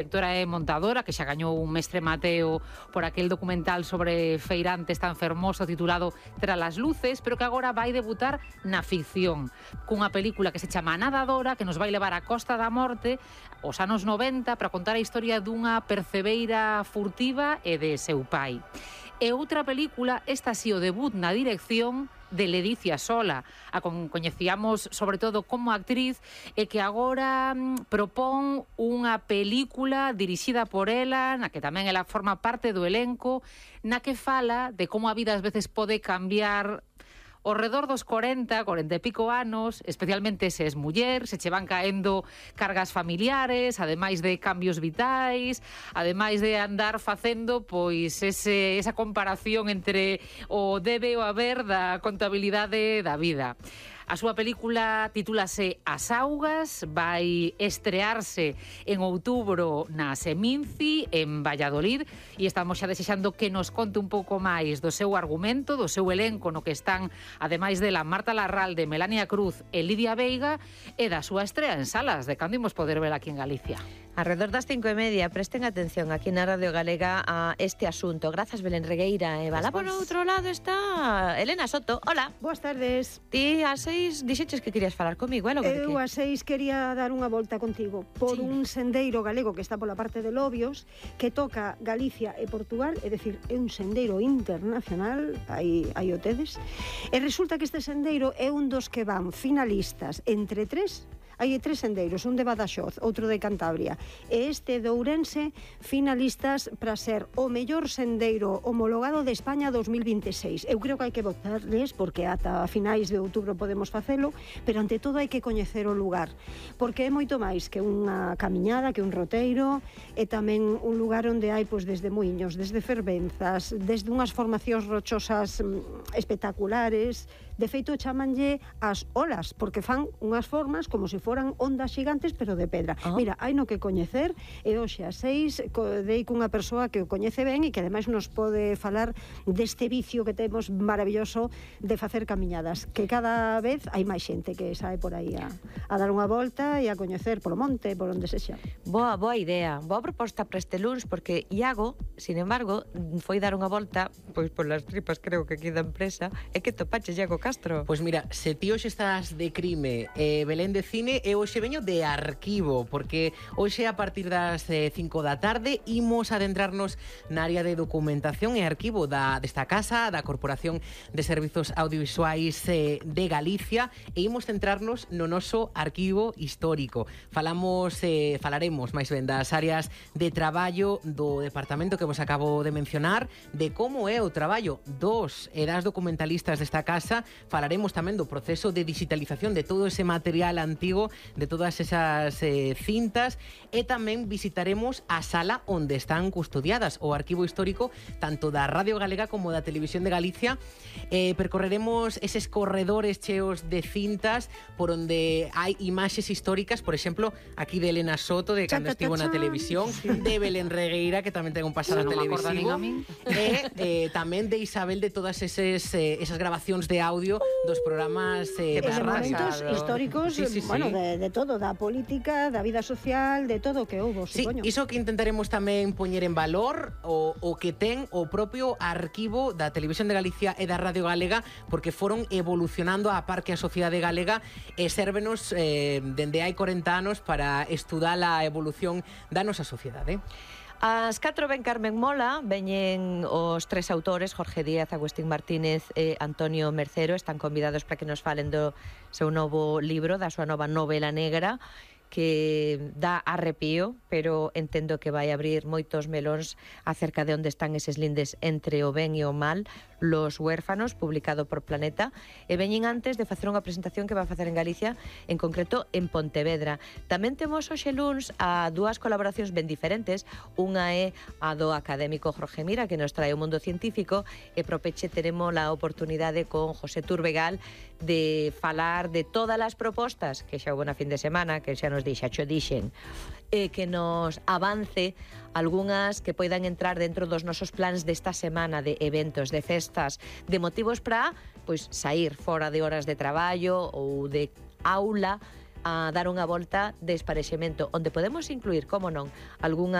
directora e montadora, que xa gañou un Mestre Mateo por aquel documental sobre feirantes tan fermoso titulado Tras las luces, pero que agora vai debutar na ficción, cunha película que se chama Nadadora, que nos vai levar á Costa da Morte os anos 90 para contar a historia dunha percebeira furtiva e de seu pai. E outra película, esta si o debut na dirección de Ledicia Sola, a coñecíamos sobre todo como actriz e que agora propón unha película dirixida por ela, na que tamén ela forma parte do elenco, na que fala de como a vida ás veces pode cambiar ao redor dos 40 e pico anos, especialmente se es muller, se che van caendo cargas familiares, ademais de cambios vitais, ademais de andar facendo pois esa comparación entre o debe e o haber da contabilidade da vida. A súa película titúlase As Augas, vai estrearse en outubro na Seminci, en Valladolid, e estamos xa desexando que nos conte un pouco máis do seu argumento, do seu elenco no que están, ademais dela, Marta Larralde, Melania Cruz e Lidia Veiga, e da súa estrea en salas, de cando imos poder ver aquí en Galicia. Alrededor das 5:30, presten atención aquí na Radio Galega a este asunto. Grazas, Belén Regueira. E va lá por outro lado está Elena Soto. Hola. Boas tardes. Ti ás 6 dixeches que querías falar comigo, é logo de que? Eu ás 6 quería dar unha volta contigo por un sendeiro galego que está pola parte de Lobios, que toca Galicia e Portugal, é dicir, é un sendeiro internacional, aí o tedes. E resulta que este sendeiro é un dos que van finalistas entre tres. Hai tres sendeiros, un de Badaxoz, outro de Cantabria, e este de Ourense, finalistas para ser o mellor sendeiro homologado de España 2026. Eu creo que hai que votarles, porque ata finais de outubro podemos facelo, pero ante todo hai que coñecer o lugar, porque é moito máis que unha camiñada, que un roteiro, e tamén un lugar onde hai, pois, desde muiños, desde fervenzas, desde unhas formacións rochosas espectaculares. De feito, chamanlle as olas, porque fan unhas formas como se foran ondas gigantes, pero de pedra. Mira, hai no que coñecer, e hoxe ás 6 dei cunha persoa que o coñece ben e que ademais nos pode falar deste vicio que temos maravilloso de facer camiñadas, que cada vez hai máis xente que sae por aí a dar unha volta e a coñecer polo monte, por onde sexa. Boa idea, boa proposta para este luns, porque Iago, sin embargo, foi dar unha volta, pois polas tripas creo que aquí da empresa, e que topaches, Iago Castro? Pois mira, se ti hoxe estás de crime, Belén de cine, e hoxe veño de arquivo, porque hoxe a partir das 5 da tarde imos adentrarnos na área de documentación e arquivo desta casa, da Corporación de Servizos Audiovisuais de Galicia, e imos centrarnos no noso arquivo histórico. Falaremos máis ben das áreas de traballo do departamento que vos acabo de mencionar, de como é o traballo dos e das documentalistas desta casa. Falaremos tamén do proceso de digitalización de todo ese material antigo, de todas esas cintas, e tamén visitaremos a sala onde están custodiadas o arquivo histórico tanto da Radio Galega como da Televisión de Galicia. Percorreremos eses corredores cheos de cintas por onde hai imaxes históricas, por exemplo, aquí de Elena Soto, de cando estivo na televisión, de Belén Regueira, que tamén ten un pasado televisivo, e tamén de Isabel, de todas esas grabacións de audio dos programas de momentos históricos, bueno, de todo, da política, da vida social, de todo o que houbo, supoño. Iso que intentaremos tamén poñer en valor o que ten o propio arquivo da Televisión de Galicia e da Radio Galega, porque foron evolucionando a par que a sociedade galega, e sérvenos dende hai 40 anos para estudar a evolución da nosa sociedade. As 4 ven Carmen Mola, veñen os tres autores, Jorge Díaz, Agustín Martínez e Antonio Mercero, están convidados para que nos falen do seu novo libro, da súa nova novela negra, que dá arrepío, pero entendo que vai abrir moitos melóns acerca de onde están eses lindes entre o ben e o mal, Los huérfanos, publicado por Planeta, e veñen antes de facer unha presentación que va a facer en Galicia, en concreto en Pontevedra. Tamén temos hoxe luns a dúas colaboracións ben diferentes, unha é a do académico Jorge Mira, que nos trae o mundo científico, e pro peche teremos a oportunidade con José Turbegal de falar de todas as propostas que xa houve na fin de semana, que xa nos dixen, que nos avance algunhas que poidan entrar dentro dos nosos plans desta semana de eventos, de festas, de motivos para, pois, sair fora de horas de traballo ou de aula, a dar unha volta de esparexemento, onde podemos incluir, como non, algunha